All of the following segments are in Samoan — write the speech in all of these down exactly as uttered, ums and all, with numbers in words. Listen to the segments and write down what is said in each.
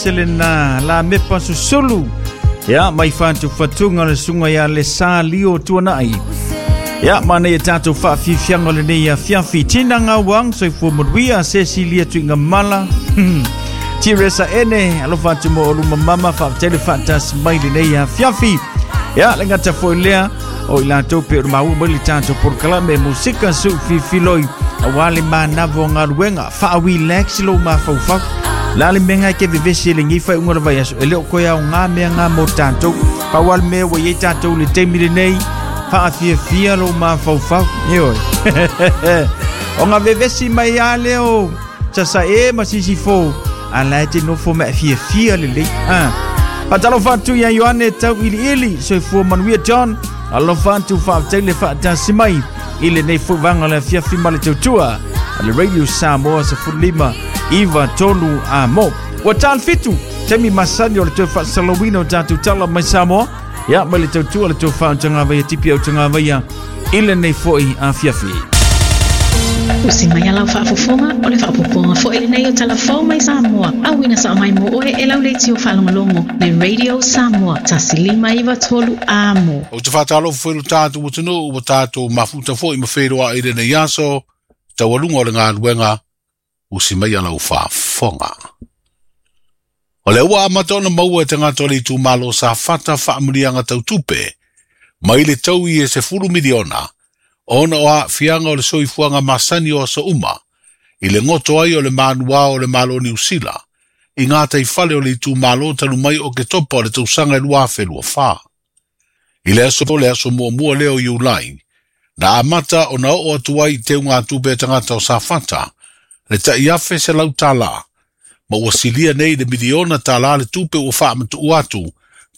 Selena la mepa susulu. Ia mai whātu whatunga le sunga ia le sa lio tuanai. Ia mana ia tātou whaafifianga le nei a fiafi. Tina ngā wang, soifua manuia, Cecilia tuinga mala. Tiresa ene, alofa atu mo oluma mama, whaatele whaatas mai le nei a fiafi. Ia, le ngata foi lea, o i lātou pe o maua mai le tātou porokalame musika su fifiloi. A wale mānavo ngā ruenga, whaa-relax lo mawhaufau. La le menga ke vevesi le ngi fai unga le vai aso e leo koe au ngā mea ngā mō tātou. Pau mea wa iei tātou le teimi le nei, whaafiafia lo mawhaufau. Eoi. O ngā vevesi mai a leo, sasa e ma sisi fō, a la e te nofo mea fiafia le lei. Ah. Patalo whātu ia Ioane tau ili ili, soifua manuia John, alofa atu whaafetai le whaatasi mai, i le nei fuvanga le fiafi ma le tautua, a le Radio Samoa sa fulima, iwa tolu a mo. Ua tāl fitu, temi masani o le tau whaasalawina o tātou tala mai Samoa, ia mai le tautua le tau whautanga vaia tipi au tanga vaia, i le nei foi a fiafi. Usi mai alau faafofoga o le faapopoga foi lenei o talafou mai Samoa. Auina sa mai mo oe e lau leitio faalogologo le Radio Samoa tasi lima iva tolu amo. O te whātalo whelu tātou atunuu ua tātou mafuta foi ma whenua i lenei aso, taualuga o le galuega usi mai alau faafofoga. O le ua amata ona maua e tagata o le itumalo Safata faamuliaga tautupe, mai le taui e sefulu miliona, ona o aafiaga o le soifuaga masani o aso uma, i le goto ai o le manuā o le Malo Niusila, i ngā taifale o le itumalo talu mai o ke topa o le tausaga e lua afe lua fā. I le aso le aso muamua lea o Iulai, na amata ona oo atu ai i teugatupe a tagata o Safata, le ta'iafe se lau tālā, ma ua silia nei le miliona tālā le tupe ua faamatu'u atu,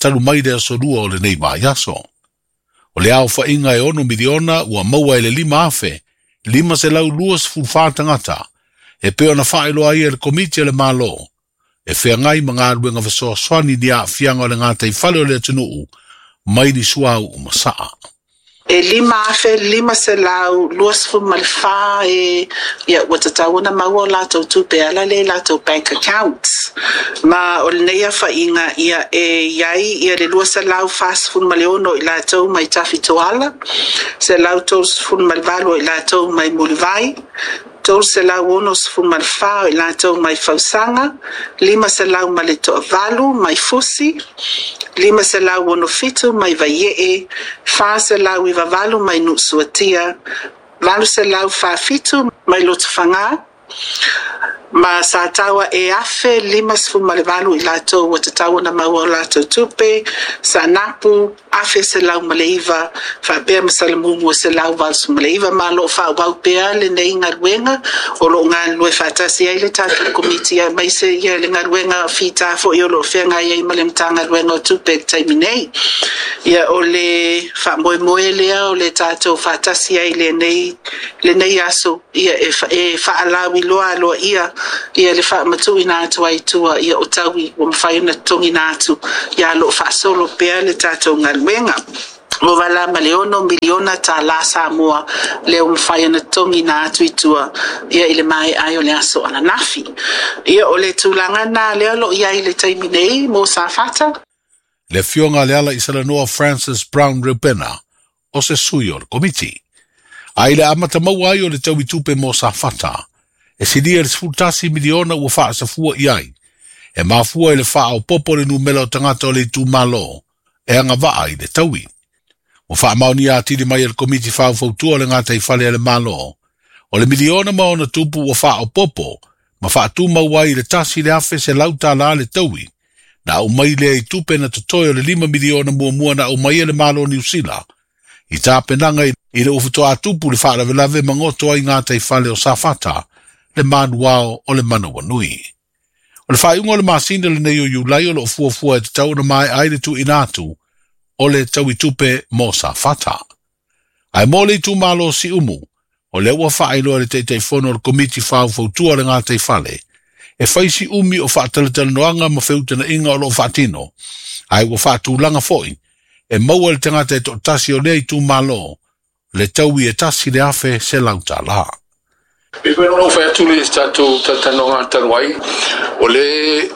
talu mai le aso lua o lenei vaiaso. O le aofa'iga e ono miliona ua maua e le lima afe, lima selau lua sefulufā tagata, e pei ona faailoa ai e le Komiti a le Malo, e feagai ma galuega fesoasoani ni aafiaga o le gataifale o le atunuu, mai ni suauu ma sa'a. E lima afe lima selau lua sefulu ma le fā e ia ua tatau ona maua o latou tupe ala lea i latou bank accounts. Ma o lenei afa'iga ia e iai ia le lua selau fasefulu ma le ono i latou mai Tafitoala, selau tolu sefulu ma le valu o i latou mai Mulivai, tolu selau ono sefulu ma le fā o i latou mai Fausaga, lima selau ma le to'avalu mai Fusi, lima selau ono fitu mai Vaie'e, fa selau iva valu mai Nu'usuatia, valu selau fa'afitu mai Lotofagā, ma sa taua e afe lima sefulu ma le valu i latou ua tatau ona maua o latou tupe, Saanapu afe selau ma le iva, faapea ma Salamumu e selau valu ma le iva. Ma o loo faaauau pea lenei galuega o loo galulue faatasi ai le tatou komiti aemaise ia le galuega fitā fo'i o loo feagai ai ma le Matagaluega o Tupe i le taimi nei. Ia o le faamoemoe lea o le tatou faatasi ai lenei lenei aso ia e, e faalauiloa aloaia ia le faamatuuina atu ai tua ia o taui ua mafai ona totogiina atu ia loo faasolo pea le tatou galuega. Ua vala ma le ono miliona tālā Samoa lea ua mafai ona totogiina atu i tua ia i le mae'a ai o le aso ananafi. Ia o le tulaga na lea o loo i ai i le taimi nei mo Safata. Le afioga a Lealaisalanoa Francis Brown Reupena o se sui o le komiti. A i le amata maua ai o le taui tupe mo Safata, e silia le sefulu tasi miliona ua faasafua i ai, e mafua i le faaopopo le numera o tagata o le itumalo e agavaa i le taui. Ua faamaonia atili mai e le Komiti Faufautua o le Gataifale a le Malo, o le miliona ma ona tupu ua faaopopo ma faatumau ai i le tasi le afe selau tālā le taui, na aumai lea i tupe na totoe o le lima miliona muamua na aumai e le Malo o Niusila, i tapenaga i le ua tupu le faalavelave ma goto ai gataifale o Safata, le manuao o le manawanui. O le faaiuga o le masina lenei o Iulai o loo fuafua e tatau ona mae'a ai le tuuina atu o le tauitupe mo Safata. Ae mo le itumalo Siumu, o lea ua faailoa e le Taitaifono o le Komiti Faufautua o le Gataifale, e fai si umi o faatalatalanoaga ma feutana'iga o loo faatino, ae ua faatulaga fo'i e maua le tagata e to'atasi o lea itumalo le taui e tasi le afe selau tālā. E pei ona ou fai atu le tatou talatalanoaga talu ai, o le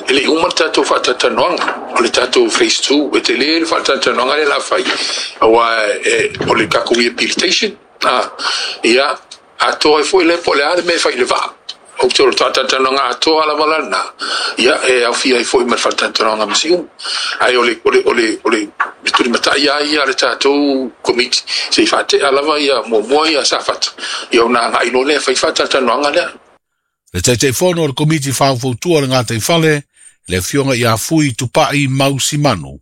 e le i uma le tatou faatalatalanoaga, o le tatou phase two, e tele le faatalatalanoaga lea la fai, aua e, o le tatou rehabilitation, a, ia, atoa ai foi lea po o le a le mea e fai i le vaa. Ou te o le faatalatalanoaga atoa lava la lena, ia, e aofia ai foi ma le faatalatalanoaga ma Siumu. Ae o le, o le, o le, o le tulimatai lava ia a le tatou komiti, se i faatea lava ia muamua ia Safata, ia ona agai loa lea e fai faatalatalanoaga lea. Le Taitaifono o le Komiti Faufautua o le Gataifale, le Afioga ia Fui Tupai Mau Simanu,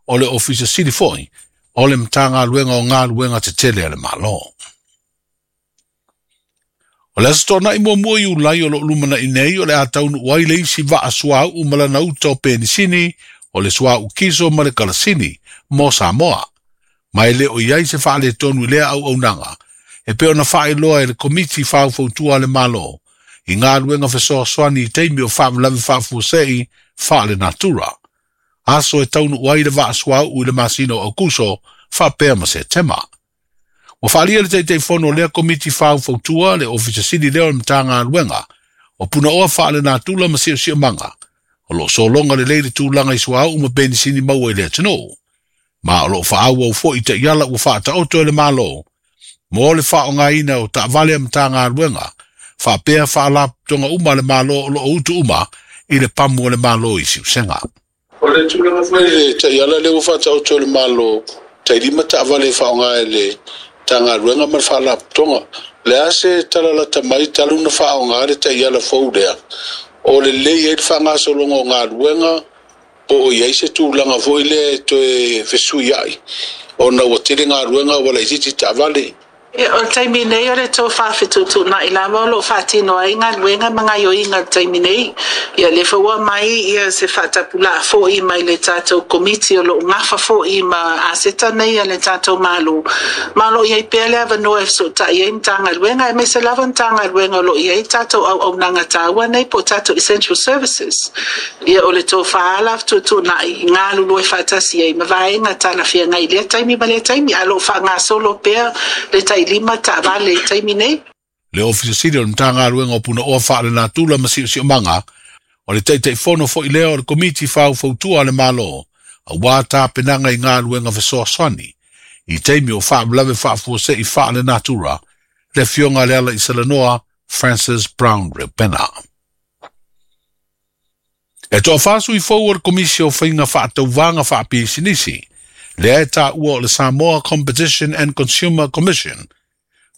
o le Ofisa Sili foi o le Matagaluega o Galuega Tetele a le Malo. O le Aso Toonai muamua Iulai o loo lumanai nei o le a taunuu ai le isi vaa suauu ma lana uta o penisini, o le suauu kiso ma le kalasini, mo Samoa. Ma e le o i ai se faaletonu i lea auaunaga, e pei ona faailoa e le Komiti Faufautua a le Malo, i galuega fesoasoani i taimi o faalavelave faafuasei faalenatura. Aso e taunuu ai le vaa suauu i le masina o Aukuso faapea ma Setema. Ua faaalia le Taitaifono o lea Komiti Faufautua, le Ofisa Sili lea o le Matagaluega o Punaoa Faalenatura ma Siosiomaga, o loo sologa lelei le tulaga i suauu ma penisini maua i le atunuu. Ma o loo faaauau foi taiala ua faataoto e le Malo mo le faaaogaina o taavale a Matagaluega faapea faalapotopotoga uma a le Malo o loo utu uma i le pamu o le Malo i Siusega. O le tulaga foi i le taiala lea ua faataoto e le Malo, tailima taavale e faaaoga e le Matagaluega ma le Faalapotopotoga. Le a se talalata mai talu na faaaoga le taiala fou lea, o lelei ai le faagasologa o galuega, po o i ai se tulaga foi lea e toe fesuiai, ona ua tele galuega ua laitiiti taavale. Ia, o le taimi nei o le tofa fetuutuunai lava o loo faatino ai galuega ma gaoioiga i le taimi nei. Ia, lea foi ua aumai ia se faatapulaa foi mai le tatou Komiti o loo gafa foi ma aseta nei a le tatou Malo, ma o loo i ai pea le avanoa e fesootai ai Matagaluega, aemaise lava Matagaluega o loo i ai tatou auaunaga taua nei po o tatou essential services. Ia, o le tofa la fetuutuunai galulue faatasi ai ma vaega talafeagai i lea taimi ma lea taimi, ae o loo faagasolo pea le tailima taavale i taimi nei. Le Ofisa Sili o le Matagaluega o Punaoa Faalenatura ma Siosiomaga, o le Taitaifono foi lea o le Komiti Faufautua a le Malo, aua tapenaga i galuega fesoasoani i taimi o faalavelave faafuasei faalenatura, le Afioga a Lealaisalanoa Francis Brown Reupena. E toafa sui fou o le Komisi o Faiga Faatauvaga Faapisinisi, lea e taua o le Samoa Competition and Consumer Commission,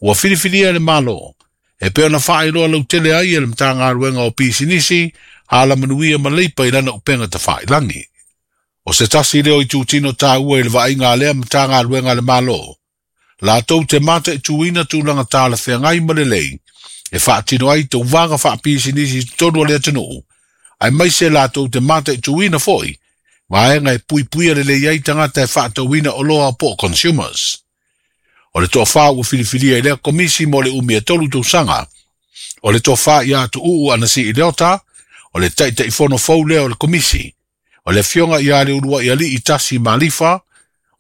ua filifilia e le Malo, e pei ona faailoa lautele ai e le Matagaluega o Pisinisi, Alamanuia ma Leipa i lana upega tafailagi. O se tasi lea o itutino taua i le vaaiga a lea Matagaluega a le Malo, latou te mataituina tulaga talafeagai ma lelei, e faatino ai tauvaga faapisinisi i totonu o le atunuu, aemaise latou te mataituina foi vaega e puipuia lelei ai tagata e faatauina oloa po o consumers. O le toafa ua filifilia i lea komisi mo le umi e tolu tausaga, o le tofa ia Tuuu Anasii Leota, o le Taitaifono fou lea o le komisi, o le Afioga ia Leuluaialii Tasi Malifa,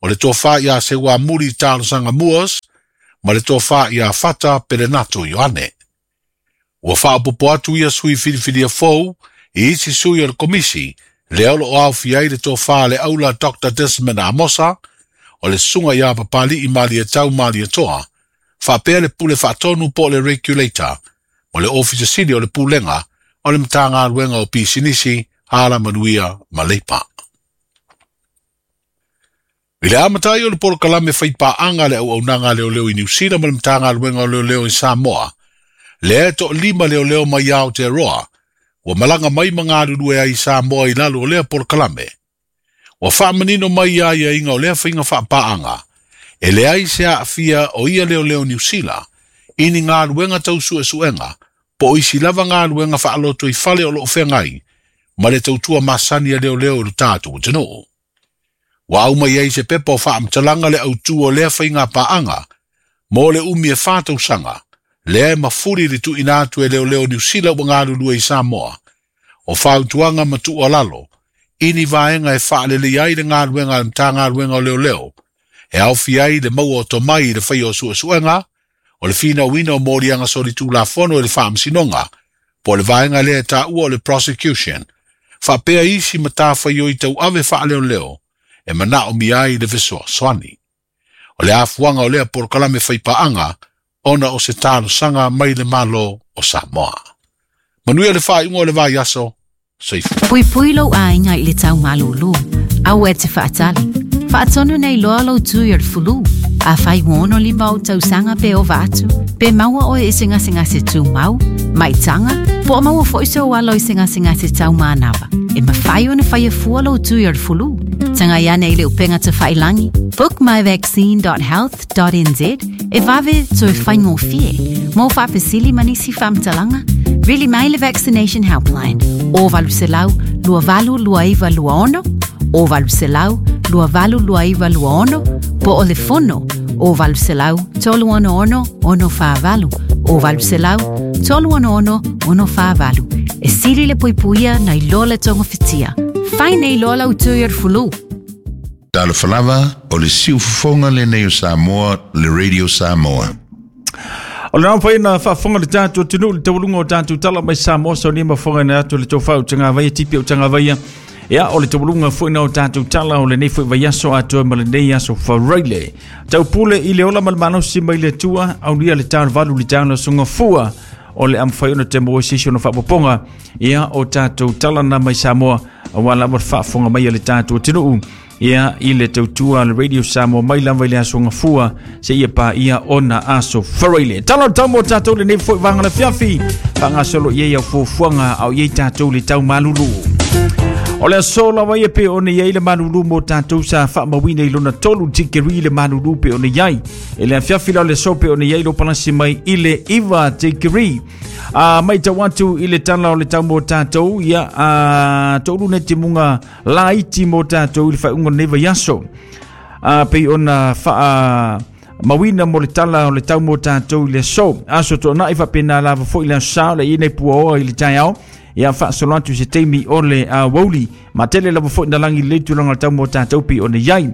o le tofa ia Seuamuli Talosaga Moores, ma le tofa ia Fata Pelenato Ioane. Ua faaopoopo atu ia sui filifilia fou i isi sui o le komisi, lea o loo aofia ai le tofa le aula Doctor Desmond Amosa, o le susuga ia Papali'i Malietau Malietoa, faapea le pule faatonu po o le regulator, ma le Ofisa Sili o le Pulega o le Matagaluega o Pisinisi, Alamanuia ma Leipa. I le amata ai o le polokalame faipaaga a le auaunaga a leoleo i Niu Sila ma le Matagaluega o Leoleo i Samoa, lea e toalima leoleo mai Aotearoa, ua malaga mai ma galulue ai i Samoa i lalo o lea polokalame. Ua faamanino mai ia aiaiga o lea faiga faapaaga, e leai se aafia o ia leoleo Niu Sila i ni galuega tau suesuega po o isi lava galuega faalotoifale o loo feagai ma le tautua masani a leoleo i lo tatou atunuu. Ua aumai ai se pepa o faamatalaga le autu o lea faiga paaga mo le umi e fa tausaga, lea e mafuli le tuuina atu e leoleo Niu Sila ua galulue i Samoa, o fautuaga ma tuualalo i ni vaega e faalelei ai le galuega a le Matagaluega o Leoleo, e aofia ai le maua o tomai i le faia o suesuega, O le finauina o moliaga solitulafono e le faamasinoga po o le vaega lea e taua o le prosecution faapea isi matafaioi tauave faaleoleo e manaomia ai le fesoasoani. O le afuaga o lea polokalame faipaaga ona o se talosaga mai le Malo o Samoa. Manuia le faaiuga o le vaiaso. Soifua. Puipui lou aiga i le taumalūlū. Aua e te faatali. Faatonu nei loa lou tui o le fulu. Afai ua ono lima ou tausaga pe ova atu, pe maua oe i se gasegase tumau, maitaga, po o maua foi sou alo i se gasegase taumanava. E mafai ona faia fua lou tui o le fulu. Tagai ane i le upega tafailagi, book my vaccine dot health dot n z e vave toe faigofie. Mo faafesili ma nisi faamatalaga, vili mai le Vaccination Helpline o valu selau lua valu lua iva lua ono, o valu selau lua valu lua iva lua ono, po o le fono o valu selau tolu ono ono ono whaavalu, o valu selau tolu ono ono ono whaavalu. E sili le puipuia nei loa le tonga whitia. Fai nei loa lau tui o le fulu. Talofa lava o le siufofoga lenei o Samoa, le Radio Samoa. O le nau na faafofoga le tatou atunuu le taualuga o tatou tala mai Samoa saunia mafoga na atu le tofau o tagavaia tipi o tagavaia. Ia o le taualuga foi na o tatou tala o lenei foi vaiaso atoa ma lenei aso faraile. Taupule i le ola ma le malosi mai le Atua, aulia le tau valu le tau na fua o le amfai ona te moe sisi ona faapopoga. Ia o tatou tala na mai Samoa, aua lava le faafofoga mai a le tatou atunuu. Ia i le tautua le Radio Samoa mai lava i le aso gafua se ia pa ia ona aso faraile. Tala o tau mo tatou lenei foi vaga le fiafi, faagasolo i ai au fuafuaga au i ai tatou le tau malulu. O le aso lava ia pe ona iai le malulu mo tatou sa faamauina i lona tolu tikeri le malulu pe ona iai. E le afiafi la o le aso pe ona iai lo palasi mai i le iwa tikeri. A mai tau atu i le tala o le tau mo tatou, ia a tolu ne timunga laiti mo tatou i le faaiuga o lenei vaiaso. A pei ona faa mauina mo le tala o le tau mo tatou i le aso. Aso toonai faapena lava foi le aso sa o le iai nei puaoa i le taeao. Ia faasolo atu se taimi o le aoauli. Ma tele lava foi na langi le tulaga o le tau mo tatou pei ona iai.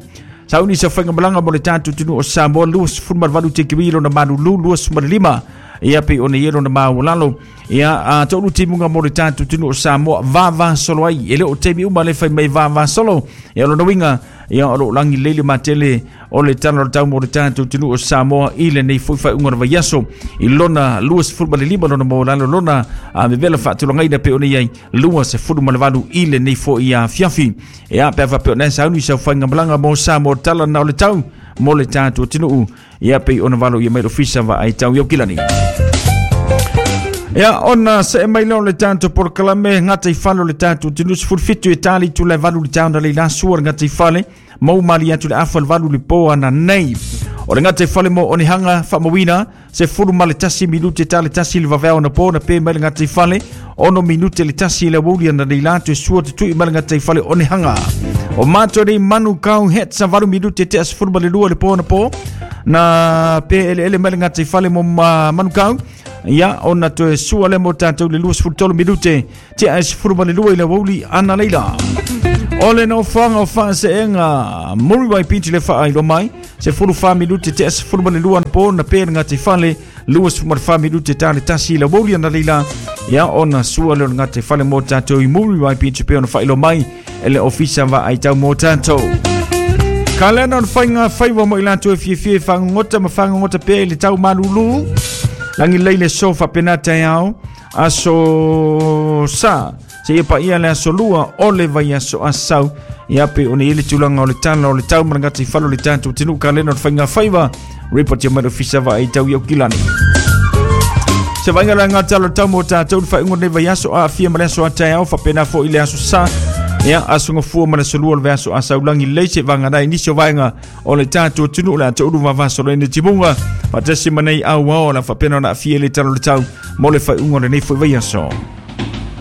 Sauni sa faigamalaga mo le tatou atunuu o Samoa lua sefulu ma le valu tikeri lona malulu lua sefulu ma le lima. Ia pei ona iai lona maualalo. Ia a tolu timuga mo le tatou atunuu o Samoa vava solo ai. E le o taimi uma le fai mai vava solo. Ia lona uiga ia o loo lagi lelei le matele o le tala o le tau mo le tatou atunuu o Samoa i lenei foi faaiuga o le vaiaso i lona lua sefulu ma le lima lona maualalo lona a vevela faatulagaina pe ona iai lua sefulu ma le valu i lenei foi afiafi. Ia pe a faapea ona e sauni sau faigamalaga mo Samoa tala na o le tau mo le tatou atunuu. Ia pei ona valo ia mai le ofisa vaai tau i Aukilani. Ia ona se mai leo le tatou polokalame gata i fale o le tatou atunuu sefulu fitu e tali tula e valu le tau na leila sua le gata i fale mau mali atu le afa le valu le po ana nei. O le gata i fale mo onehanga faamauina sefulu ma le tasi minute tale tasi le vaveao na po na pe mai le gata i fale ono minute le tasi le aoauli ana leila atu e sua tutui mai le gata i fale onehanga. O mātou nei manu kau het sa valu minute te sefulu ma le lua le po na po na pe ele ele mai le gata i fale mo manu kau. Ia ona toe sua le mo tatou le lua sefulu tolu minute te a sefulu ma le lua i le aoauli ana leila. O le nofoaga o faaseenga Muriwai Beach le faailoa mai sefulu fa minute te a sefulu ma le lua na po na pe le gata i fale lua sefulu ma le fa minute tale tasi i le aoauli ana leila. Ia ona sua le o le gata i fale mo tatou i Muriwai Beach pe ona faailoa mai e le ofisa vaai tau mo tatou. Ka lena o le faiga faiva mo i latou e fiafia e fagogota ma fagogota pea i le tau malulu. Langi lei le so faapena taeao aso sa se ia paia le aso lua o le vaiaso asau. Ia pe ona iai le tulaga o le tala o le tau ma le gata i fale o le tatou atunuu. Ka lena o le faiga faiva report ia mai le ofisa vaai tau i Aukilani. Se vaaiga le aga tala o le tau mo tatou le faaiuga o lenei vaiaso aafia ma le aso ataeao faapena foi i le aso sa. Ia aso gafua ma le aso lua o le vaiaso asau langi lelei se vaganai nisi o vaega o le tatou atunuu le atoulu vavasolo ai le timuga faatasi ma nei auao o le faapena ona aafia i le tala o le tau mo le faaiuga o lenei foi vaiaso.